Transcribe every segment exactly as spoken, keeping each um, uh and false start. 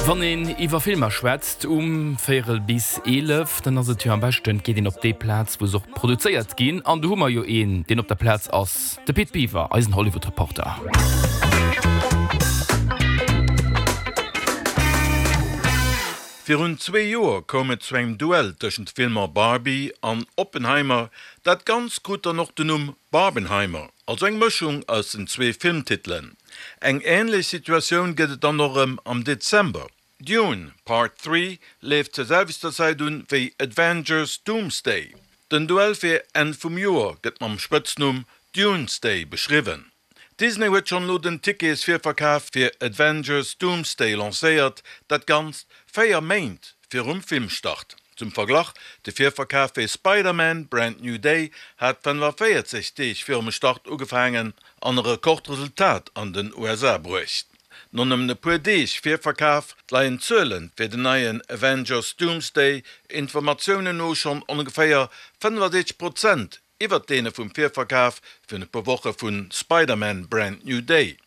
Wann een iwwer Filmer schwätzt um véierel bis eelef, dann ass et jo am beschten, et geet een op déi Plaz, wou se och produzéiert ginn. An do hu mer jo een, deen op der Plaz ass, de Pit Biwer, eisen Hollywood-Reporter. Virun zwee Joer koum et zu engem Duell tëschent de Filmer Barbie an Oppenheimer. Dat Ganzt krut dann och den Numm Barbenheimer, also eng Mëschung aus den zwee Filmtitelen. Eng änlech Situatioun gëtt et dann och erëm am Dezember. Dune, Part Three leeft zur selwechter Zäit un wéi Avengers, Doomsday. Den Duell fir Enn vum Joer gëtt mam Spëtznumm Dunesday beschriwwen. Disney huet schonn elo den Ticketsvirverkaf fir Avengers, Doomsday lancéiert, dat Ganzt véier Méint virum Filmstart. Zum Verglach, De Virverkaf fir Spider-Man, Brand New Day hat fënnefaféierzeg Deeg virum Start ugefaangen an e Rekordresultat an den U S A bruecht. No nëmmen e puer Deeg Virverkaf leien d'Zuele fir den neien Avengers, Doomsday Informatiounen no schonn ongeféier fënnefasiwwenzeg Prozent iwwert deene vum Virverkaf virun e puer Woche vu Spider-Man, Brand New Day.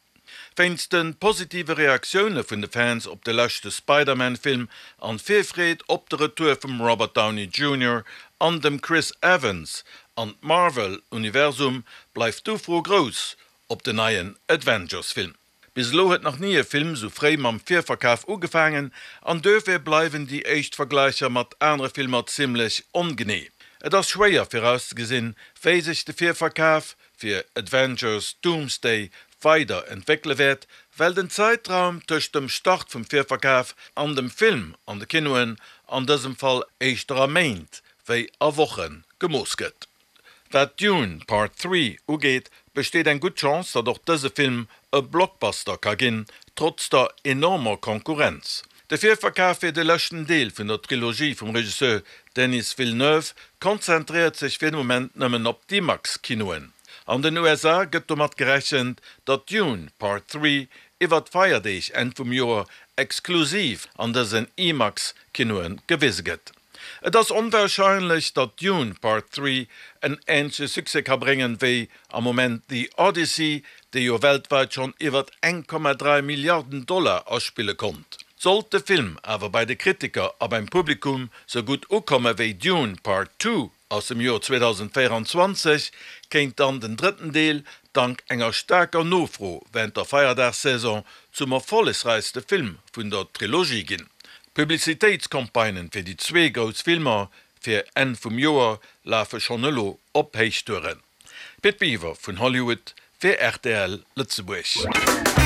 Wéinst de positive Reaktioune vun de Fans op de leschte Spider-Man-Film an d'Virfreed op de Retour vum Robert Downey Junior an dem Chris Evans an d'Marvel-Universum bleift d'Ufro grouss op den neien Avengers-Film. Bis elo huet nach ni e Film sou fréi mam Virverkaf ugefaangen an duerfir bleiwen déi éischt Vergläicher mat anere Filmer zimmlech ongenee. Et ass schwéier virauszegesinn, wéi sech de Virverkaf fir Avengers, Doomsday weider entwéckele wäert, well den Zäitraum tëscht dem Start vum Virverkaf an dem Film an de Kinoen an dësem Fall éischter a Méint wéi a Woche gemooss gëtt. Wat Dune, Part Three ugeet, besteet eng gutt Chance, datt och dëse Film e Blockbuster ka ginn, trotz der enormer Konkurrenz. De Virverkaf fir de leschten Deel vun der Trilogie vum Regisseur Denis Villeneuve konzentréiert sech fir de Moment nëmmen op d'IMAX-Kinoen. An den U S A gëtt domat gerechent, datt Dune, Part Three iwwer d'Feierdeeg Enn vum Joer exklusiv an dësen IMAX-Kinoe gewise gëtt. Et ass onwahrscheinlech, datt Dune Part Three en änleche Succès ka bréngen wéi am Moment The Odyssey, dee jo weltwäit schonn iwwer eng Komma dräi Milliarden Dollar aspille konnt. Sollt de Film awer bei de Kritiker a beim Publikum sou gutt ukomme wéi Dune Part Two aus dem Joer zweedausendvéieranzwanzeg, kéint dann den drëtten Deel dank enger staarker Nofro wärend der Feierdagssaison zum erfollegräichste Film vun der Trilogie ginn. D'Publicitéitscampagnen fir déi zwee grouss Filmer fir Enn vum Joer lafe schonn elo op Héichtouren. Pit Biwer vun Hollywood fir R T L Lëtzebuerg.